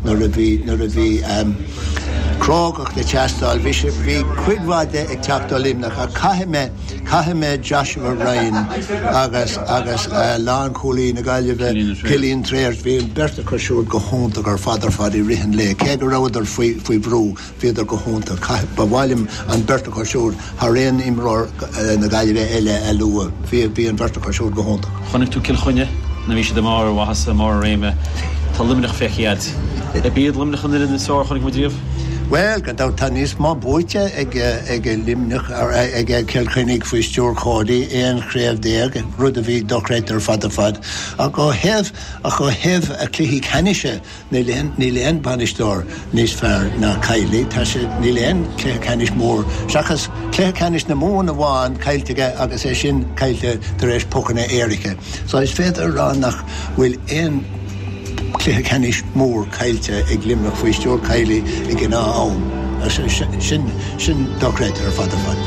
nuair a bhí, nuair a bhí crógacht ag teastáil. Bhí sé, bhí cuid mhaith de ag teacht ó Luimneach ach caithfidh mé, caithfidh mé Joshua Ryan agus, agus lánchúlaí na Gaillimhe, Cillian Trayers, bhí an bheirt acu siúd go hiontach ar fad ar fad i rith an lae, cé go rabhadar faoi, faoi bhrú. Bhíodar go hiontach. Ba mhaith liom an bheirt acu siúd thar aon imreoir na Gaillimhe eile a lua. Bhí bhí an bheirt acu siúd go hiontach. Chonaic tú Cill Chainnigh nuair a bhí siad i mbarr a mhaitheasa, i mbarr a réime. Tá Luimneach feicthe agat. Ab iad Luimneach an fhoireann is fearr a chonaic muid riamh? Bhuel, gan dabht tá níos mó buaite ag ag Luimneach ag Cill Chainnigh faoi stiúir Cody, 11 chraobh, rud a bhí dochreidte ar fad ar fad. Ach ó thaobh ach ó thaobh cluichí ceannais Níl aon, níl aon bhainisteoir níos fearr ná Kiely. Tá sé, níl aon cluiche ceannais mór, seachas cluiche ceannais na Mumhan amháin, caillte aige agus é sin caillte tar éis pocanna éirice. So is féidir a rá nach bhfuil aon cluiche ceannais mór caillte ag Luimneach faoi stiúir Kiely ag an am. Sin, sin dochreidte ar fad ar fad.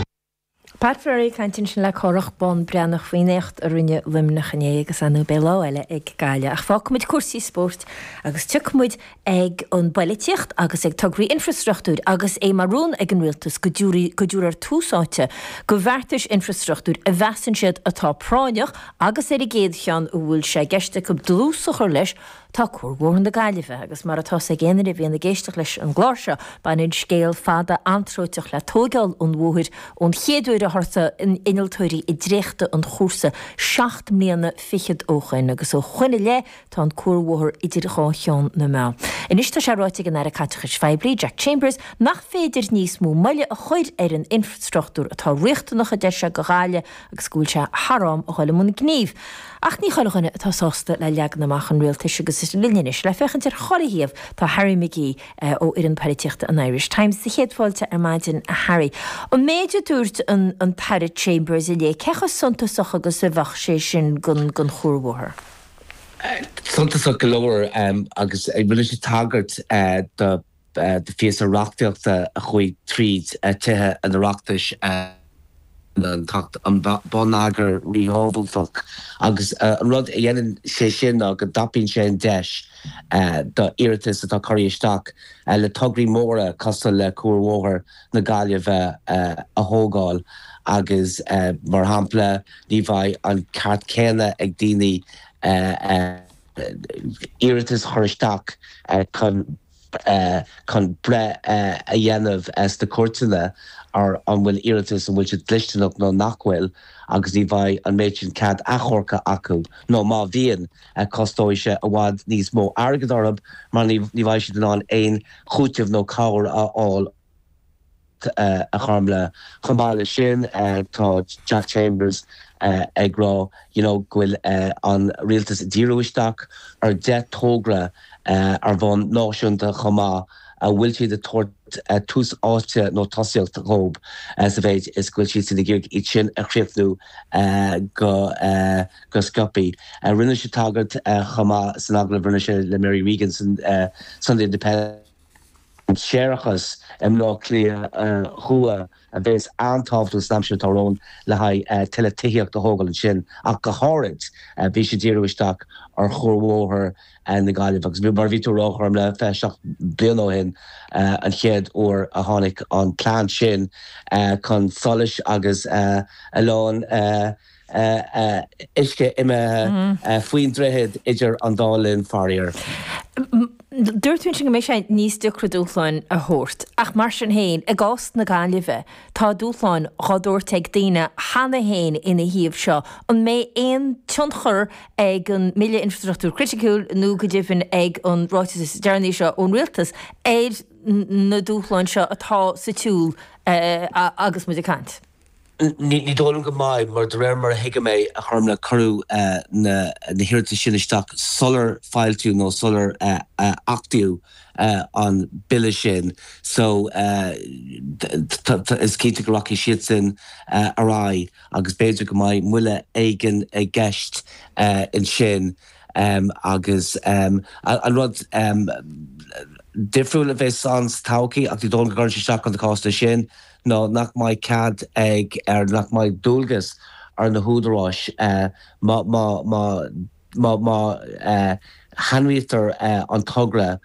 Pat Furey ag caint ansin le Cárthach Bán Breathnach faoin éacht a rinne Luimneach inné agus ar ndóigh beidh lá eile ag Gaillimh. Ach fágfaimid cúrsaí spóirt agus tiocfaimid ag an bpoilitíocht agus ag tograí infreastruchtúir agus é mar rún ag an Rialtas go dtabharfar tús áite do bheartais infreastruchtúir a mheasann siad atá práinneach agus ar an gcéad cheann a bhfuil sé i gceist acu dlús a chur leis Tá Cuarbhóthar na Gaillimhe, agus mar atá 's ag aon duine a bhíonn ag éisteacht leis an gclár seo, baineann scéal fada anróiteach le tóigeáil an bhóthair ón chéad uair a thosaigh innealtóirí ag dréachtadh an chúrsa seacht mbliana fichead ó shoin, agus ó shoin i leith tá an cuarbhóthar idir dhá cheann na meá. Anois tá sé ráite ag an Aire Caiteachais Phoiblí, Jack Chambers, nach féidir níos mó moille a chur ar an infreastruchtúr atá riachtanach, a deir sé, do Ghaillimh agus go bhfuil sé thar am a dhul i mbun gnímh. Ach ní chuile dhuine atá sásta le leagan amach an rialtais agus is linn anois le féachaint ar chuile thaobh tá Harry McGee ó fhoireann poilitíochta an Irish Times. Sa chéad fáilte ar maidin a Harry. An méid a dúirt an tAire Chambers inné, cé chomh suntasach agus a bheadh sé sin don chuarbhóthar? Suntasach go leor agus rinne sé tagairt do do phíosa reachtaíochta a chuaigh tríd Tithe an Oireachtais, an tAcht um Bonneagar Ríthábhachtach, agus an rud a dhéanann sé sin ná go dtapaíonn sé an deis do iarratais atá curtha isteach le tograí móra cosúil le Cuarbhóthar na Gaillimhe a thógáil agus, mar shampla, ní bheidh an ceart céanna ag daoine iarratas a chur isteach chun chun breith a dhéanamh sna cúirteanna ar an bhfuil iarratas, an bhfuil sé dlisteanach nó nach bhfuil agus ní bheidh an méid sin cead achomhairce acu nó má bhíonn, costóidh sé i bhfad níos mó airgid orthu mar ní bheidh siad in ann aon chúiteamh nó cabhair a fháil. a Chormlaith. Chomh maith leis sin, tá Jack Chambers ag rá you know go bhfuil an rialtas ag díriú isteach ar 10 togra ar bhonn náisiúnta chomh maith a bhfuil siad ag tabhairt tús áite nó tosaíocht dhóibh sa mhéid is go bhfuil siadsan ag iarraidh iad sin a chríochnú go go sciobtha. Rinne sé tagairt chomh maith san agallamh a rinne sé le Mary Regan san Sunday Independent, an séarachas i mBleá Cliath Thuaidh a bheas an-tábhachtach san aimsir atá romhainn le haghaidh tuilleadh tithíocht a thógáil ansin ach go háirid bhí sé ag díriú isteach ar Chuarbhóthar na Gaillimhe agus mar a bhí tú a rá a Chormlaith 27 bliain ó shin an chéad uair a tháinig an plean sin chun solais agus a lán uisce imithe faoin droichead idir an dá linn, faraor. Dúirt tú ansin go mbeidh sé níos deacra dúshláin a thabhairt, ach mar sin féin, i gcás na Gaillimhe, tá dúshláin dhá dtabhairt ag daoine cheana féin ina thaobh seo. An mbeidh aon tionchar ag an mBille Infreastruchtúir Criticiúil nó go deimhin ag an ráiteas is deireanaí seo ón Rialtas ar na dúshláin seo atá sa tsiúl agus muid ag caint? Ní dóigh liom go mbeidh, mar de réir mar a thuigim é, a Chormlaith, cuireadh na hiarratais sin isteach sular foilsíodh nó sular achtaíodh an bille sin so is cinnte go rachaidh siadsan ar aghaidh agus b'fhéidir go mbeidh moille éigin i gceist ansin. Agus an rud difriúil a bheas ann sa todhchaí, ach ní dóigh liom go gcuireann sé isteach ar na cásanna sin, ná nach mbeidh cead ag, ar nach mbeidh dualgas ar na húdaráis má má má má má shainaithnítear an togra.